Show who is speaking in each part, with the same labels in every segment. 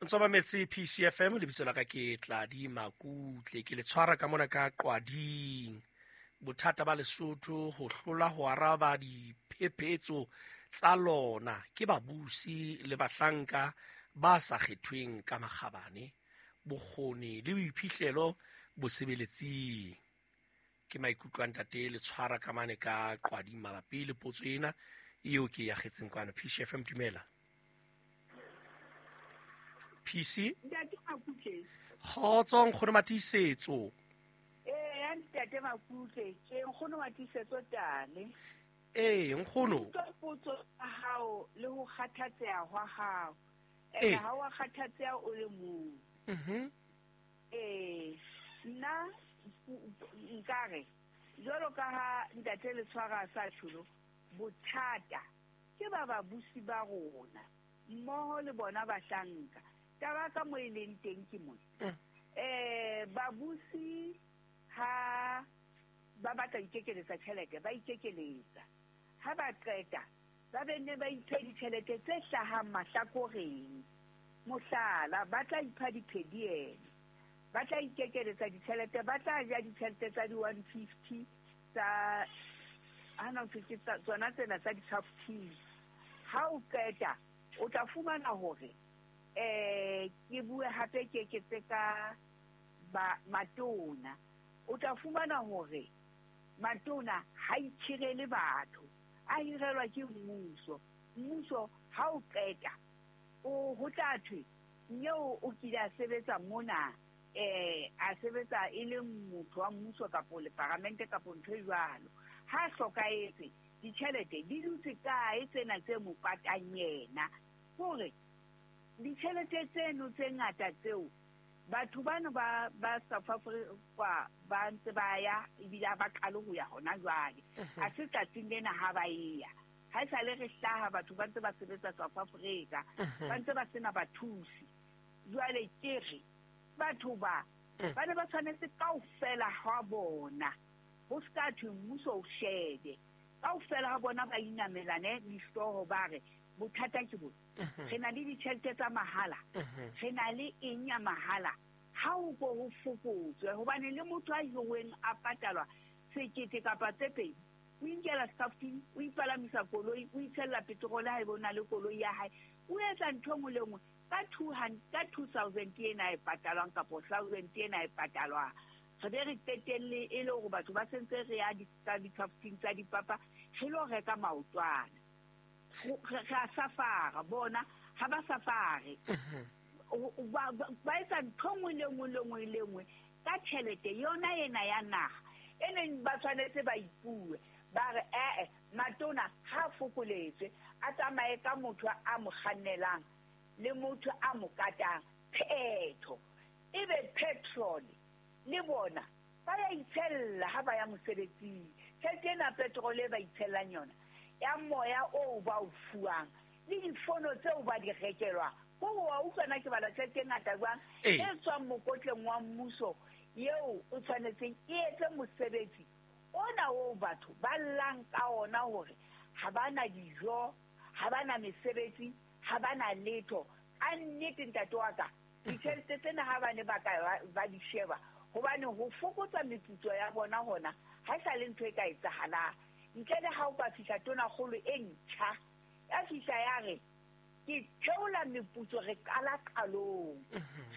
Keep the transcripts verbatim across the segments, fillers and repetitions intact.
Speaker 1: Ntse ba metse P C F M, lebitso la ka ke Tladi Makutle, ke le tshwara ka mona ka Qwading. Bothata ba Lesotho ho hlola ho araba diphephetso tsa lona ke babusi le bahlanka ba sa kgethweng ka makgabane, bokgoni le boiphihlelo bosebeletsing. Ke maikutlo a ntate le tshwara ka mane ka Qwading mabapi le potso ena eo ke ya kgetseng kwano. P C F M, dumela. P C?
Speaker 2: Ntate Makutle.
Speaker 1: Kgotso, nkgono Matiisetso.
Speaker 2: Eh, ntate Makutle, ke nkgono Matiisetso tale.
Speaker 1: Eh, nkgono.
Speaker 2: Potso ya hao le ho kgathatseha hwa hao. Eh, ha wa kgathatseha o le mong.
Speaker 1: Mhm.
Speaker 2: Eh, nna nkare jwalo ka ha ntate le tshwara sa tsholo, bothata ke ba babusi ba rona mmoho le bona bahlanka. Taba ka mo e leng teng ke mona. Eh, babusi ha ba batla ikekeletsa tjhelete, ba ikekeletsa. Ha ba qeta, ba benne ba iphe ditjhelete tse hlahang mahlakoreng. Mohlala, ba tla ipha diphediene, ba tla ikekeletsa ditjhelete, ba tla ja ditjhelete tsa di-one fifty tsa hana ke tsona tsena tsa di-safety. Ha o qeta, o tla fumana hore eh ke bue hape ke eketse ka ba matona. O tla fumana hore matona ha itshirele batho, a hirelwa ke mmuso. Mmuso ha o qeta o ho tla thwe nyeo o kile a sebetsa mona, eh a sebetsa e le motho wa mmuso kapa le paramente kapa ntho e jwalo. Ha hlokahetse ditjhelete di dutse kae tsena tse mo patang yena? Hore ditjhelete tseno tse ngata tseo batho bano ba ba South Africa ba ntse ba ya ebile ba qale ho ya hona jwale. Ha se tsatsing lena ha ba ya. Ha e sale re hlaha batho ba ntse ba sebetsa South Africa, ba ntse ba sena bathusi. Jwale ke re batho ba ba ne ba tshwanetse kaofela ha bona ho ska thwe mmuso o shebe. Kaofela ha bona ba inamelane dihlooho ba re bothata ke bona. Re na le ditjhelete tsa mahala, re na le eng ya mahala, ha o ko ho fokotswe hobane le motho a hiruweng a patalwa sekete kapa tse pedi, o inkela safety, o ipalamisa koloi, o itshella petrol ha ebe o na le koloi ya hae, o etsa ntho e nngwe le nngwe ka two hundred, ka two thousand ena e patalwang kapa thousand ena e patalwang. Re be re qetelle e le hore batho ba sentse re ya di-safety tsa dipapa re lo reka maotwana. Re a safara bona ha ba safare, ba etsa ntho nngwe le nngwe le nngwe le nngwe ka tjhelete yona ena ya naha e neng ba tshwanetse ba ipue ba re ee matona ha fokoletswe a tsamaye ka motho a mo kgannelang le motho a mo katang phetho ebe petrol le bona ba ya itshella ha ba ya mosebetsing. Tjhelete ena petrol e ba itshellang yona ya moya o ba o fuwang le difono tseo ba di rekelwang, ko wa utlwana ke bala tjhelete e ngata jwang e tswang mokotleng wa mmuso eo o tshwanetseng e etse mosebetsi ona oo batho ba llang ka ona hore ha ba na dijo, ha ba na mesebetsi, ha ba na letho. Ka nnete ntate wa ka, ditjhelete tsena ha ba ne ba ka ba di sheba hobane ho fokotsa meputso ya bona hona ha e sa le ntho e ka etsahalang. Ntle le ha o ka fihla tonakgolo e ntjha ya fihla ya re ke theola meputso, re qala qalong,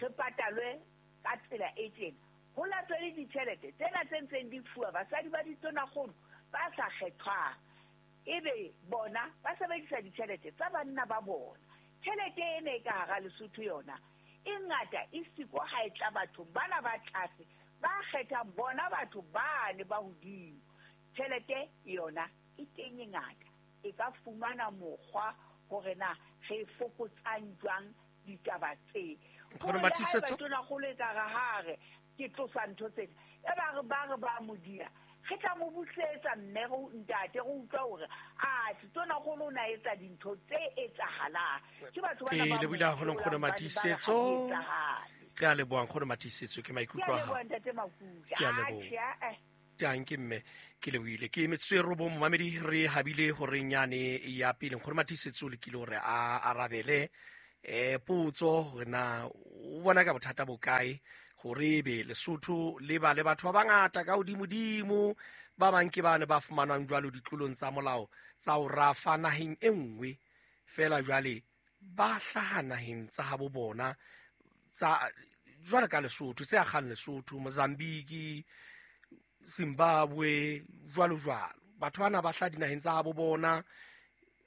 Speaker 2: re patalwe ka tsela e tjena, ho latwe le ditjhelete tsena tse ntseng di fuwa basadi ba ditonakgolo ba sa kgethwang, ebe bona ba sebedisa ditjhelete tsa banna ba bona. Tjhelete ena e ka hara Lesotho yona e ngata e siko ha e tla bathong bana ba tlase ba kgethang bona batho bane ba hodimo. Tjhelete yona e teng e ngata, e ka fumana mokgwa hore na re fokotsang jwang ditaba tse.
Speaker 1: Nkgono Matiisetso,
Speaker 2: tonakgolo e ka re ha re ke tlosa ntho tsena, e ba re ba re ba mo dia, re tla mo busetsa mme re ntate re utlwa hore a tonakgolo o na etsa dintho tse etsahalang. Ke batho bana ba
Speaker 1: le buile haholo Nkgono Matiisetso. Ke a leboha Nkgono Matiisetso, ke maikutlo a hao. Ke a leboha. Tanke mme ke lebohile. Ke metsotso e robong momamedi, re habile horeng yane ya pele. Nkgono Matiisetso o lekile hore a arabele eh potso hore na o bona ka bothata bo kae hore ebe Lesotho le ba le batho ba bangata ka hodimodimo ba bang ke bane ba fumanwang jwalo ditlolong tsa molao tsa ho rafa naheng e nngwe fela jwale ba hlaha naheng tsa habo bona tsa jwale ka Lesotho tse akgang Lesotho, Mozambique, Zimbabwe jwalo jwalo. Batho bana ba hlaha dinaheng tsa habo bona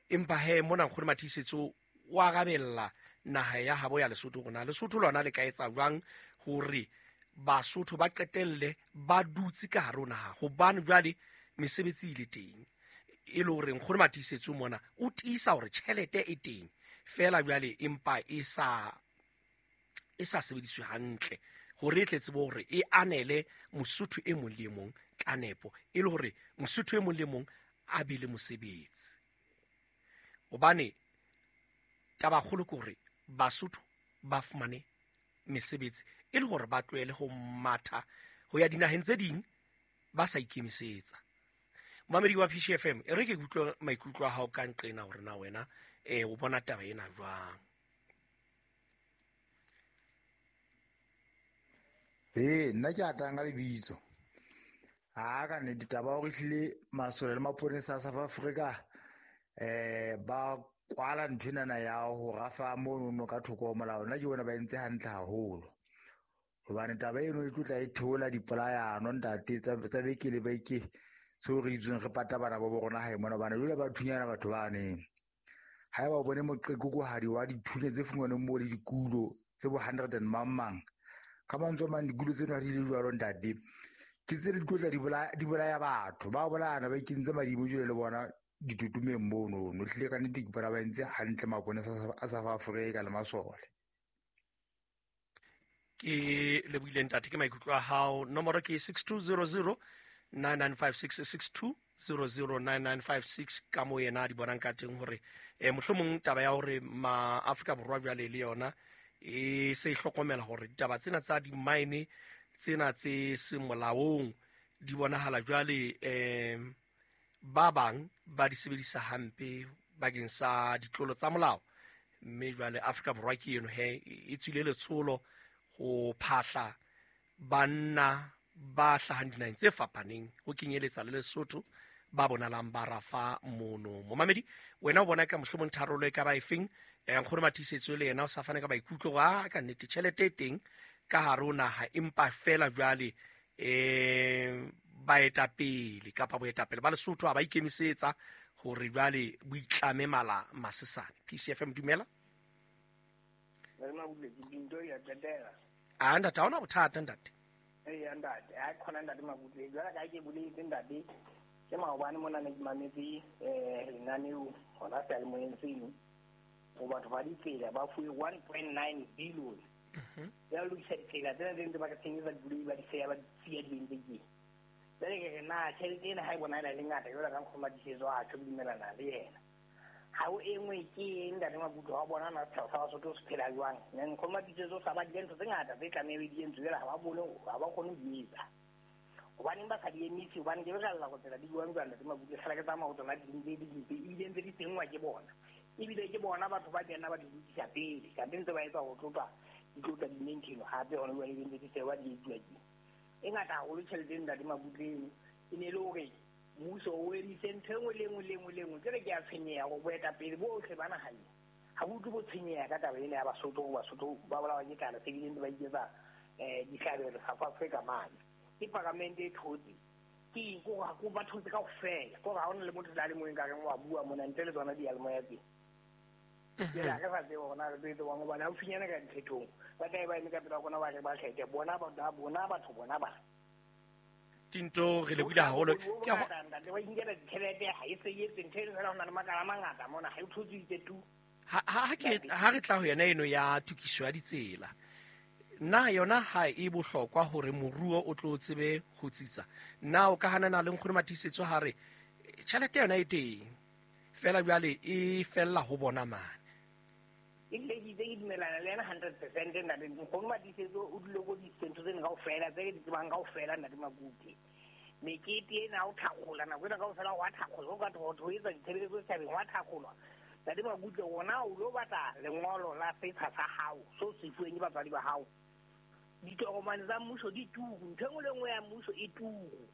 Speaker 1: empa he mona Nkgono Matiisetso o arabella naha ya habo ya Lesotho rona Lesotho lona le ka etsa jwang hore Basotho ba qetelle ba dutse ka hare ho naha hobane jwale mesebetsi e le teng e le hore Nkgono Matiisetso mona o tiisa hore tjhelete e teng fela jwale empa e sa e sa sebediswe hantle hore e tle tsebe hore e anele Mosotho e mong le e mong ka nepo e le hore Mosotho e mong le mong a be le mosebetsi. Hobane taba kgolo ke hore Basotho ba fumane mesebetsi e le hore ba tlohele ho matha ho ya dinaheng tse ding ba sa ikemisetsa. Momamedi wa P C F M, e re ke utlwe maikutlo a hao ka nqena hore na wena eh o bona taba ena jwang.
Speaker 3: Ee, nna ke atang ka lebitso. Ha ka nnete taba hore ehlile masole le maponesa a South Africa eh ba kwala nthwenana ya ho rafa mono ka thoko ho molao, nna ke bona ba entse hantle haholo. Hobane taba eno e tlo tla e theola dipolayano ntate tsa tsa beke le beke tseo re itsweng re pata bana ba bo rona hae mona, hobane jwale ba thunyana batho baneng. Haeba o bone moqekokohadi wa dithunya tse fumanweng moo le dikulo tse bo hundred and mang mang, ka mantswe a mang dikulo tseno ha di le jwalo ntate, ke tse di tlo tla di bolaya di bolaya batho ba bolayana ba ikentse madimo jwale le bona ditotomeng mono. No hlile ka nnete ke bona ba entse hantle maponesa a South Africa le masole.
Speaker 1: Ke lebohile ntate ke maikutlo a hao. Nomoro ke six two zero zero nine nine five six six two zero zero nine nine five six ka mo yena di bonang ka teng hore eh mohlomong taba ya hore ma Afrika Borwa jwale le yona e se hlokomela hore ditaba tsena tsa di-mine tsena tse seng molaong di bonahala jwale eh ba bang ba di sebedisa hampe bakeng sa ditlolo tsa molao, mme jwale Afrika Borwa ke eno he e tswile letsholo ho phahla banna ba hlahang dinaheng tse fapaneng ho kenyeletsa le Lesotho ba bonalang ba rafa mono. Momamedi wena o bona ka mohlomong tharollo e ka ba efeng? Eh Nkgono Matiisetso le yena o sa fane ka maikutlo a ka nnete tjhelete e teng ka hare ho naha empa fela jwale eh baetapele kapa boetapele ba Lesotho ha ba ikemisetsa hore jwale bo itlame mala masesane. P C F M dumela. A ntate ha ona bothata ntate.
Speaker 4: Ee ntate, ha khona ntate Mabutle jwale ka ke boletse ntate ke maobane mona ne ke mametse eh lenaneo hona seyalemoyeng seno ho batho ba ditsela ba fuwe one point nine billion ya lokisa ditsela tsena tse ntse ba ka tsenyetsa dikoloi ba di seya ba di siya di ntse ke jwale ke re na tjhelete ena ha e bona e le ngata jwale ka Nkgono Matiisetso a tjho dumelana le yena. Ha o e nngwe ke eng ntate Mabutle wa bona na setjhaba sa Basotho se phela jwang? Nkgono Matiisetso sa ba dintho tse ngata tse tlamehile di entswe jwale ha ba bone ha ba kgone ho di etsa. Hobaneng ba sa di emise? Hobane ke re go tsela di buang jwang ntate Mabutle fela ke tsamaya ho tsona di ntse di dimpe ebile ntse di tsenngwa ke bona. Ebile ke bona batho ba kena ba di lokisa pele kante ntse ba etsa ho tlotla di tlotla di maintain hape hona jwale ntse di sewa di etsuwa ke e ngata haholo tjhelete ntate Mabutle eno e ne e le hore mmuso o emise ntho e nngwe le nngwe le nngwe le nngwe. Ke re ke a tshwenyeha hore boetapele bohle ba naha ena ha bo utlwe bo tshwenyeha ka taba ena ya Basotho hore Basotho ba bolawa ke tlala se bile ntse ba iketsa um dihlabelo South Africa mane. Ke paramente e thotse ke eng kore ha ba thotse kaofela kore ha hona le motho le a le mong nkareng wa bua mona ntle le tsona diyalemoya teng. Jwale ha re sa tsebe hore na re tlo etsa jwang hobane haufinyana ka diphethong ba tlabe ba eme ka pela rona ba re ba kgethe bona bona batho bona ba
Speaker 1: Tinto re lebohile haholo. Ke a
Speaker 4: ntate ba inkela ditjhelete ha e se etse ntho eno fela ho na le makala a mangata mona ha e thotsitse tu.
Speaker 1: Ha ha ke ha re tla ho yena eno ya tokiso ya ditsela na yona ha e bohlokwa hore moruo o tlo tsebe ho tsitsa? Na o ka hanana le Nkgono Matiisetso ha re tjhelete yona e teng fela jwale e fella ho bona mane?
Speaker 4: E le ke itse ke dumelana le yena hundred percent ntate. Nkgono Matiisetso o dule ko dintho tsena kaofela tse ke di tsebang kaofela ntate Mabutle. Mekete ena o thakgola nako ena kaofela wa thakgola o ka ho etsa ditshebeletso setjhabeng wa thakgolwa. Ntate Makutle ona o lo batla lengolo la setsha sa hao so se fuweng ke batswadi ba hao. Ditokomane tsa mmuso di turu, ntho e nngwe le nngwe ya mmuso e turu.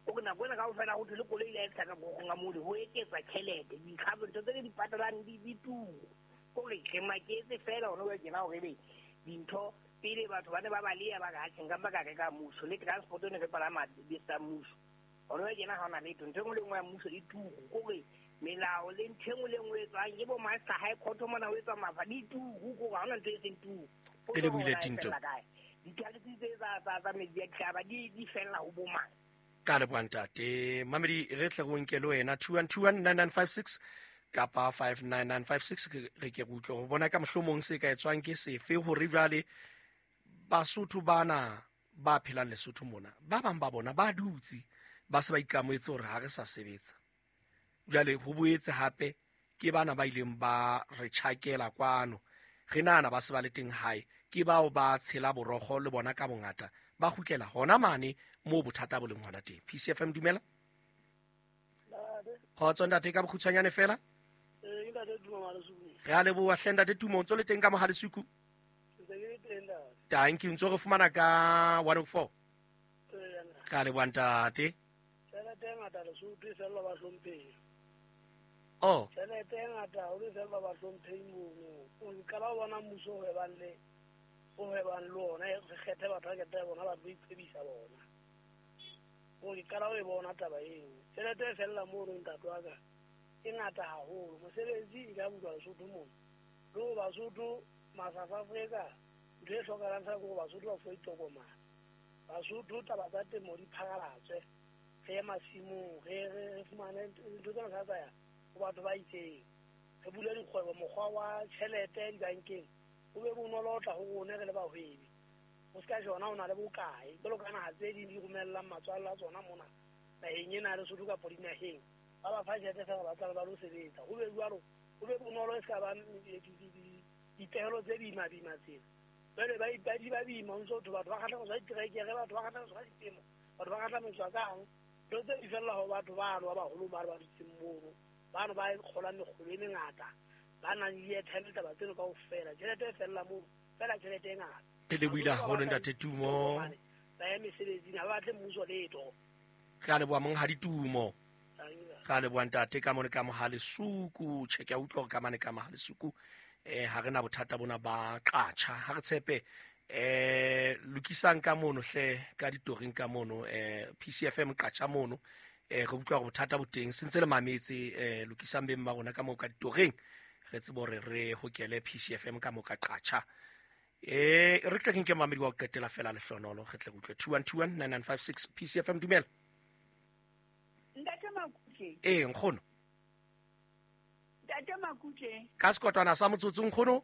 Speaker 4: O re nako ena kaofela ho thwe le koloi le a ka gorong a mole ho eketsa tjhelete, dikgapo ntho tse re di patalang di di turu. Kore re maketse fela hona jwale tjena hore ebe dintho pele batho ba ne ba baleha ba re atjhe nka mpa ka reka mmuso le transport e ne re palama dibese tsa mmuso. Hona jwale tjena ha hona letho, ntho e nngwe le nngwe ya mmuso e turu. Kore melao le ntho e nngwe le nngwe e etswang ke bo Master High Court mona ho etswa mafa di turu, kore ha hona ntho e seng turu.
Speaker 1: E lebohile Tinto.
Speaker 4: Ditalisi tse tsa tsa tsa metsi a dihlaba di di fella ho bo mang.
Speaker 1: Ka leboha ntate. Mamedi re tle re nke le wena two one two one nine nine five six kapa five nine nine five six re ke re utlwe ho bona ka mohlomong se ka etswang ke sefe hore jwale Basotho bana ba phelang Lesotho mona ba bang ba bona ba dutse ba se ba ikamoetse hore ha re sa sebetsa. Jwale ho boetse hape ke bana ba ileng ba re tjhakela kwano re nahana ba se ba le teng hae ke bao ba tshela borokgo le bona ka bongata ba kgutlela hona mane moo bothata bo leng hona teng. P C F M dumela. Kgotso ntate ka bokgutshwanyane fela. Re a leboha hle ntate Tumo, o ntso le teng ka Mohalesuku? Thank you, ntso re fumana ka one oh four. Re a leboha ntate.
Speaker 5: Tjhelete e ngata Lesotho e fella bahlomphehi.
Speaker 1: Oh.
Speaker 5: Tjhelete e ngata haholo e fella bahlomphehi mono. O qala ho bona mmuso o hwebang le o hwebang le ona, re kgethe batho ba kgethe bona ba tlo iphedisa bona. O qala ho e bona taba eo. Tjhelete e fella mono ntate wa ka e ngata haholo. Mosebetsi e ka bulwa Lesotho mono. Le ho Basotho ma South Africa ntho e hlokahalang fela ke hore Basotho ba fuwe ditokomane. Basotho taba tsa temo di phakalatswe. Re ye masimong, re re fumane ntho tsena tsa tsaya ho batho ba itseng. Re bule dikgwebo, mokgwa wa tjhelete dibankeng o be bonolo ho tla ho rona re le bahwebi. O ska jona o na le bokae jwalo ka naha tse ding di romellang matswalla a tsona mona naheng ena ya Lesotho kapa dinaheng. Ba ba fa tjhelete fela ba tla ba lo sebetsa. Ho be jwalo, ho be bonolo e ska ba dipehelo tse boima boima tsena. Jwale ba ba di ba boima ho ntso batho ba kgahlametswa ka diterekere, batho ba kgahlametswa ka ditemo, batho ba kgahlametswa kang. Ntho tse di fella ho batho bano ba baholo ba ba dutseng mono. Bano ba kgolang mekgolo e mengata, ba nang le airtime taba tseno kaofela. Tjhelete e fella moo, fela tjhelete e ngata.
Speaker 1: Ke lebohile haholo ntate Tumo.
Speaker 5: Ba ye mesebetsing, ha ba batle mmuso letho.
Speaker 1: Re a leboha monghadi Tumo. Re a leboha ntate ka mone ka Mohalesuku. Tjhe, ke a utlwa hore ka mane ka Mohalesuku eh ha re na bothata bona ba qatjha. Ha re tshepe eh lokisang ka mono hle ka ditoring ka mono eh P C F M qatjha mono eh re utlwa hore bothata bo teng se ntse le mametse eh lokisang beng ba rona ka moo ka ditoring re tsebe hore re hokele P C F M ka moo ka qatjha. Eh re tle ke nke mamedi wa ho qetela fela lehlonolo re tle re utlwe two one two one nine nine five six P C F M dumela.
Speaker 2: Ntate Makutle.
Speaker 1: Eh nkgono.
Speaker 2: Ntate Makutle.
Speaker 1: Ka sekotwana sa motsotso nkgono.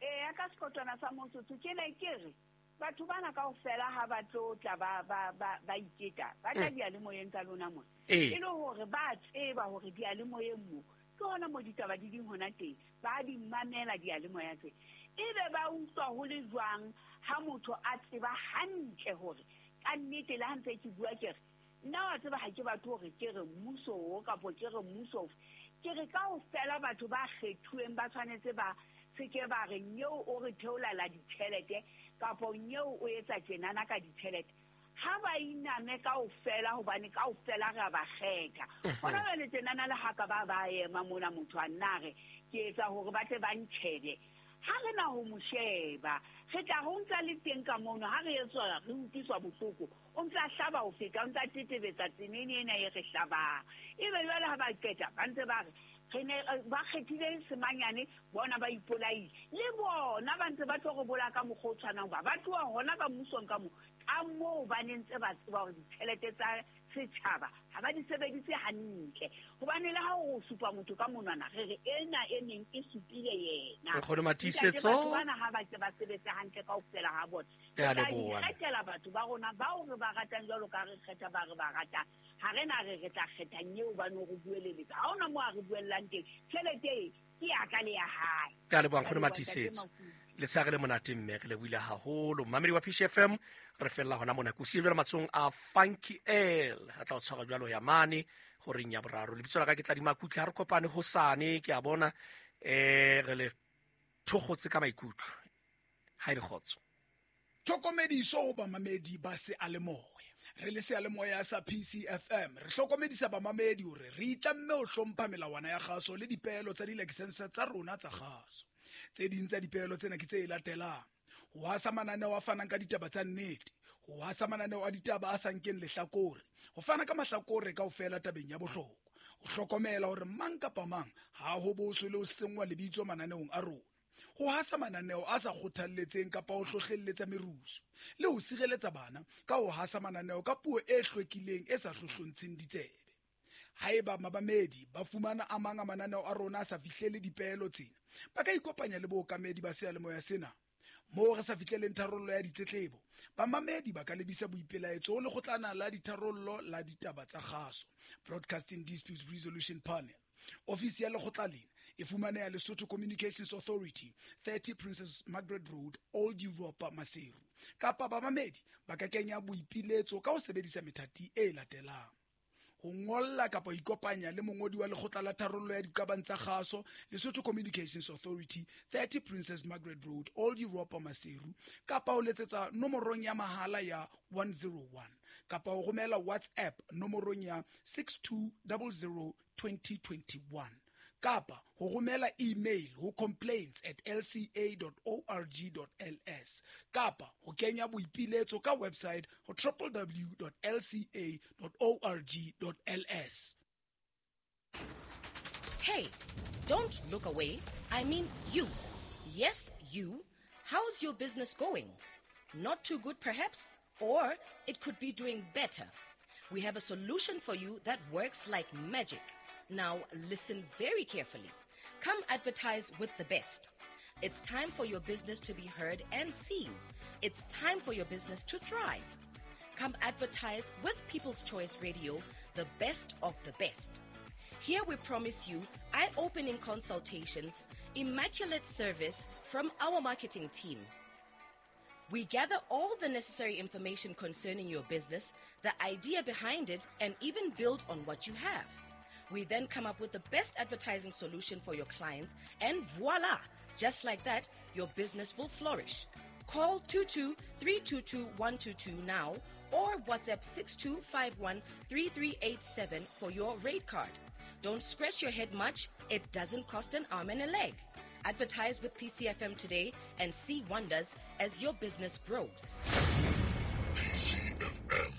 Speaker 2: Eh ka sekotwana sa motsotso ke ne ke re batho bana kaofela ha ba tlo tla ba ba ba ba iketa ba tla diyalemoyeng tsa lona mona. E le hore ba tseba hore diyalemoyeng mo ke hona mo ditaba di ding hona teng ba di mamela diyalemoya tse. Ebe ba utlwa ho le jwang ha motho a tseba hantle hore ka nnete le ha ntse ke bua ke re nna wa tseba ha ke batho hore ke re mmuso o kapo ke re mmuso ofe. Ke re kaofela batho ba kgethuweng ba tshwanetse ba se ke ba re nyeo o re theolela ditjhelete kapo nyeo o etsa tjenana ka ditjhelete. Ha ba iname kaofela hobane kaofela re a ba kgetha. Hona jwale tjenana le ha ka ba ba ema mona motho a nna re ke etsa hore ba tle ba ntjhebe. Ha re na ho mo sheba, re tla ho ntsa le teng ka mono ha re etswa re utlwiswa bohloko. O ntsa hlaba ho feta, o ntsa tetebetsa tsenene ena e re hlabang. Ebe jwale ha ba qeta ba ntse ba re re ne ba kgethile semanyane bona ba ipolaile. Le bona ba ntse ba tlo re bolaya ka mokgwa o tshwanang ba ba tloha hona ka mmusong ka moo ka moo ba ne ntse ba tseba hore ditjhelete tsa setjhaba ha ba di sebedise hantle. Hobane le ha o supa motho ka monwana re re ena e neng e supile yena.
Speaker 1: Nkgono Matiisetso.
Speaker 2: Batho bana ha ba ke ba sebetse hantle kaofela ha bona.
Speaker 1: Ke a leboha.
Speaker 2: Re kgethela batho ba rona bao re ba ratang jwalo ka re kgetha ba re ba ratang. Ha re na re re tla kgetha nyeo ba no re bueleletsa. Ha hona moo a re buellang teng. Tjhelete e ke ya ka le ya hae.
Speaker 1: Ke a leboha nkgono Matiisetso. Letshehare le monate mme re lebohile haholo. Mamedi wa P C F M re fella hona mona. Ke o siile jwalo matsohong a Funky L. A tla o tshwara jwalo ya mane horeng ya boraro. Lebitso la ka ke Tladi Makutle. Ha re kopane hosane ke a bona Eh re le thokgotse ka maikutlo. Ha e kgotso.
Speaker 6: Tlhokomediso ho bamamedi ba seyalemoya. Re le seyalemoya sa P C F M re hlokomedisa bamamedi hore re itlamme ho hlompha melawana ya kgaso le dipeelo tsa dilakesense tsa rona tsa kgaso. Tse ding tsa dipeelo tsena ke tse latelang: ho hasa mananeo a fanang ka ditaba tsa nnete, ho hasa mananeo a ditaba a sa nkeng lehlakore, ho fana ka mahlakore kaofela tabeng ya bohlokwa, ho hlokomela hore mang kapa mang ha ho boswe le ho senngwa lebitso mananeong a rona, ho hasa mananeo a sa kgothalletseng kapa ho hlohlelletsa merusu, le ho sireletsa bana ka ho hasa mananeo ka puo e hlwekileng e sa hlohlontsheng ditsebe. Haeba mabamedi ba fumana a mang a mananeo a rona a sa fihlele dipeelo tsena, ba ka ikopanya le bookamedi ba seyalemoya sena. Moo re sa fihleleng tharollo ya ditletlebo, bamamedi ba ka lebisa boipelaetso ho lekgotlana la ditharollo la ditaba tsa kgaso, Broadcasting Disputes Resolution Panel. Ofisi ya lekgotla lena e fumaneha Lesotho Communications Authority, thirty Princess Margaret Road, Old Europa, Maseru. Kapa bamamedi ba ka kenya boipiletso ka ho sebedisa methati e latelang: ho ngolla kapa ho ikopanya le mongodi wa lekgotla la tharollo ya diqabang tsa kgaso, Lesotho Communications Authority, thirty Princess Margaret Road, Old Europa, Maseru, kapa ho letsetsa nomorong ya mahala ya one zero one, kapa ho romela WhatsApp nomorong ya six two zero zero twenty twenty-one, kapa ho romela email ho complaints at l c a dot org dot l s, kapa ho kenya boipiletso ka website ho w w w dot l c a dot org dot l s.
Speaker 7: Hey, don't look away. I mean you. Yes, you. How's your business going? Not too good, perhaps? Or it could be doing better. We have a solution for you that works like magic. Now, listen very carefully. Come advertise with the best. It's time for your business to be heard and seen. It's time for your business to thrive. Come advertise with People's Choice Radio, the best of the best. Here we promise you eye-opening consultations, immaculate service from our marketing team. We gather all the necessary information concerning your business, the idea behind it, and even build on what you have. We then come up with the best advertising solution for your clients, and voila! Just like that, your business will flourish. Call two two three two two one two two now or WhatsApp six two five one three three eight seven for your rate card. Don't scratch your head much. It doesn't cost an arm and a leg. Advertise with P C F M today and see wonders as your business grows.
Speaker 8: P C F M,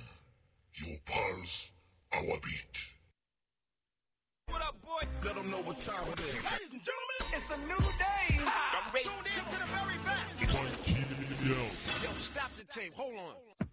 Speaker 8: your pulse, our beat.
Speaker 9: What up, boy?
Speaker 8: Let them know what time it is.
Speaker 9: Ladies and gentlemen, it's a new day.
Speaker 8: I'm
Speaker 9: tuned in to the very best.
Speaker 8: Yo.
Speaker 9: Yo, stop the tape. Hold on.